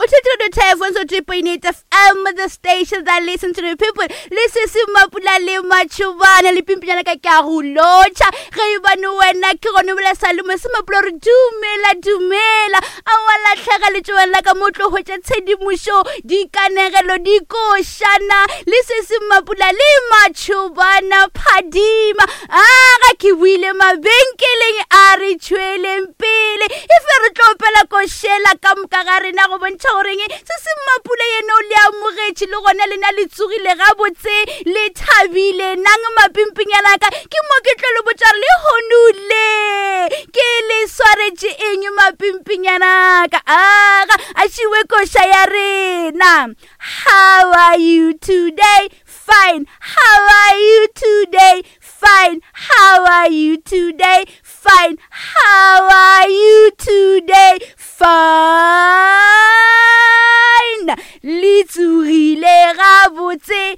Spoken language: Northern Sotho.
O theetše Radio Typhoon so 3.8 FM, the station that listen to the people. Le se se mapula le matšhobana le pimpinyana ka ke a go lotšha. Ge e bane wena ke gone bola sa lemo se mapula gore dumela dumela. A wa lahlega letšobana la ka mo tlo hwetša tshedimošo, dikanegelo, dikošana le se se mapula le matšhobana phadima. A ga ke buile mabenkeleng a re tšhweleng pele e fe re tlo opela košela ka moka ga rena go bontšha goreng se se mmapula yena o le amogetše le gona lena le tsogile gabotse le thabile nang mapimpinyana ka ke mo ke tlo le botša re le honule ke le swaretše eng mapimpinyana ka aga a šiwe koša ya rena. How are you today? Fine. How are you today? Fine. How are you today? Fine. How are you today? Fine. Le tsogile gabotse.